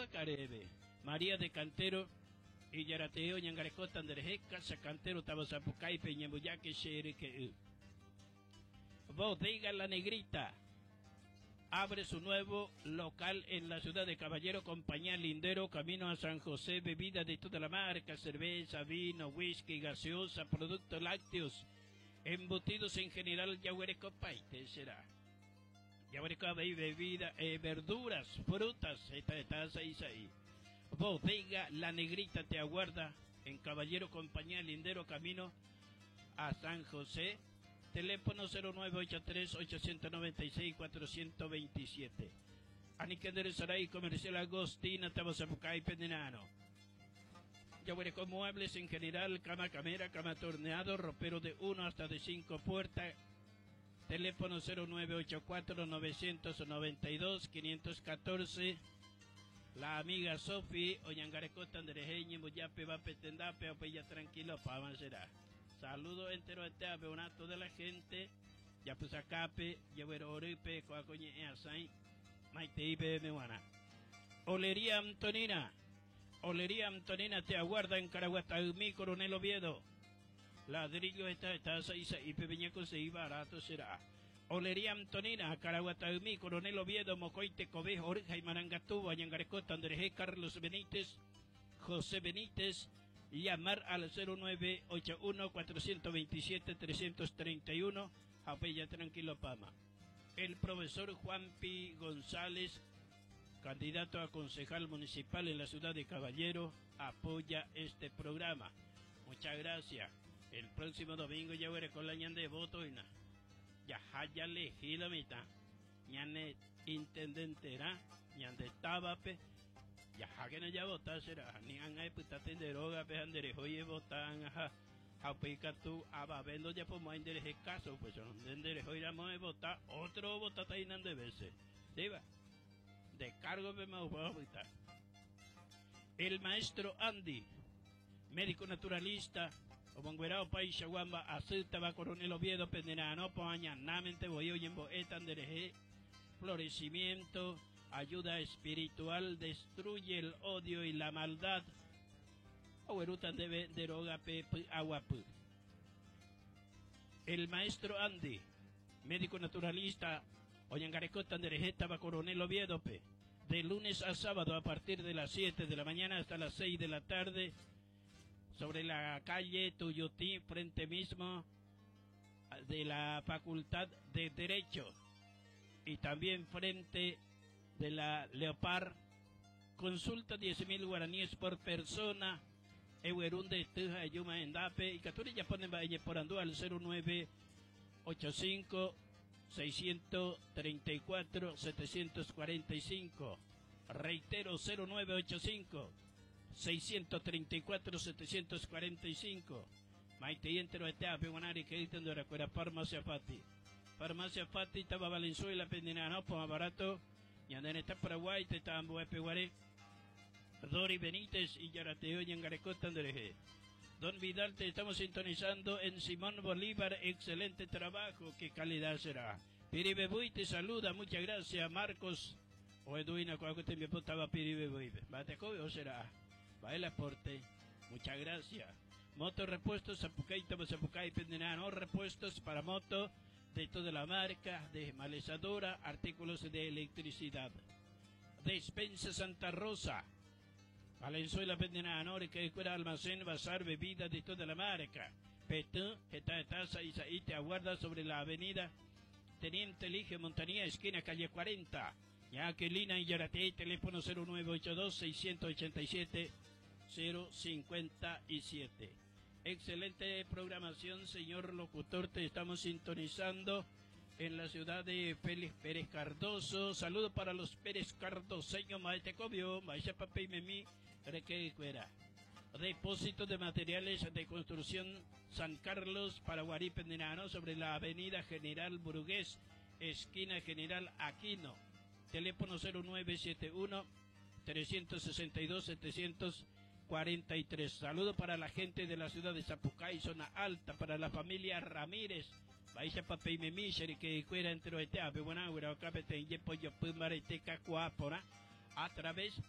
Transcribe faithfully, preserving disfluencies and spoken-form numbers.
Carebe. María de Cantero y Yarateo Ñangarecota Andereje, Casa Cantero Tabazapucay Peñambuyaque Xereque. Bodega La Negrita abre su nuevo local en la ciudad de Caballero, compañía Lindero, camino a San José, bebida de toda la marca, cerveza, vino, whisky, gaseosa, productos lácteos, embutidos en general, yahuerecopaite será. Yahuerecopaite, bebida, eh, verduras, frutas, esta está seis ahí. Bodega La Negrita te aguarda en Caballero, compañía Lindero, camino a San José. Teléfono cero nueve ocho tres, ochocientos noventa y seis, cuatrocientos veintisiete. Aniquender Saray, Comercial Agostina, Tabazapucay, Pendenano. Yahuerecó muebles en general, cama camera, cama torneado, ropero de uno hasta de cinco puertas. Teléfono cero nueve ocho cuatro, novecientos noventa y dos, quinientos catorce. La amiga Sofi, Oñangarecota, Andrejeñi, Muyape, Vape, Tendape, Opeya, tranquilo, pa, será. Saludo entero este abeonato de la gente. Ya pues acape, llevero oripe, coacoñe, asai, maite ipe mewana. Olería Antonina. Olería Antonina te aguarda en Caraguatagmí, Coronel Oviedo. Ladrillo esta, esta, seis, ipe viñeco, seis, barato será. Olería Antonina, Caraguatagmí, Coronel Oviedo, Mocoite, Cobejo, Oreja y Marangatú, Ayangarecota, Andrés Carlos Benítez, José Benítez. Llamar al cero nueve ocho uno, cuatrocientos veintisiete, trescientos treinta y uno, Japella Tranquilo Pama. El profesor Juan Pi González, candidato a concejal municipal en la ciudad de Caballero, apoya este programa. Muchas gracias. El próximo domingo ya veré con la ñan de voto y na. Ya haya elegido mitad. Ñane intendenterá, ñan de tabape. Ya que no ya votar será, ni han ahí puta tenderoga, pe anderejo y votan, ajá. Japica tú, ababendo ya por más endereje caso, pues son de enderejo iramos a votar, otro votata y nan de veces. Sí, va. De cargo me voy a votar. El maestro Andy, médico naturalista, Omonguerao País Chaguamba, Acelta va Coronel Oviedo, Penderano, Poaña, Namente, Boyo, Yembo, Etandereje, florecimiento, ayuda espiritual, destruye el odio y la maldad. Agüerutan debe deroga pe, pe, agua pu. El maestro Andy, médico naturalista, Oñangarecota, Anderejeta, va Coronel Oviedo, pe. De lunes a sábado a partir de las siete de la mañana hasta las seis de la tarde, sobre la calle Tuyutí, frente mismo de la Facultad de Derecho, y también frente de la Leopard. Consulta diez mil guaraníes por persona. Ewerunde, Tuja, Yuma, Endape y Caturilla ponen Valle por Andú al cero nueve ocho cinco, seiscientos treinta y cuatro, setecientos cuarenta y cinco. Reitero, cero nueve ocho cinco, seiscientos treinta y cuatro, setecientos cuarenta y cinco. Maite y entero este ape guanari que dicen de la cuera Farmacia Fati. Farmacia Fati, Taba Valenzuela, Pendinano, Poma Barato, Ñandén está Paraguay, Tetambo, Epeguaré, Dori Benítez y Yarateo y Angarecota Andreje. Don Vidal, te estamos sintonizando en Simón Bolívar. Excelente trabajo, qué calidad será. Piribebuy te saluda, muchas gracias, Marcos. O Edwina, cuando te me apuntaba Piribebuy. Bate o será. Va el aporte, muchas gracias. Moto Repuestos, Zapucay, Tabo Zapucay, Pendenano, repuestos para moto de toda la marca, de malezadora, artículos de electricidad. Despensa Santa Rosa, Valenzuela, Pendenano, que escuela, almacén, bazar, bebida de toda la marca. Petú, Geta, Taza, Isaí, te aguarda sobre la avenida Teniente Elige Montanía, esquina calle cuarenta. Jacqueline y Yarate, teléfono cero nueve ocho dos, seiscientos ochenta y siete, cero cincuenta y siete. Excelente programación, señor locutor, te estamos sintonizando en la ciudad de Félix Pérez Cardoso. Saludos para los Pérez Cardoseños, Maite Cobio, Maite Papé y Memí, Requecuera. Depósito de materiales de construcción San Carlos, Paraguarí, Pendenano, sobre la avenida General Burgués, esquina General Aquino. Teléfono cero nueve siete uno, trescientos sesenta y dos, setecientos cuarenta y tres. Saludo para la gente de la ciudad de Zapucay, zona alta, para la familia Ramírez. Baixa papel me miser que cuera entre este ave buena agua capete y pollo pumare te cacuapora a través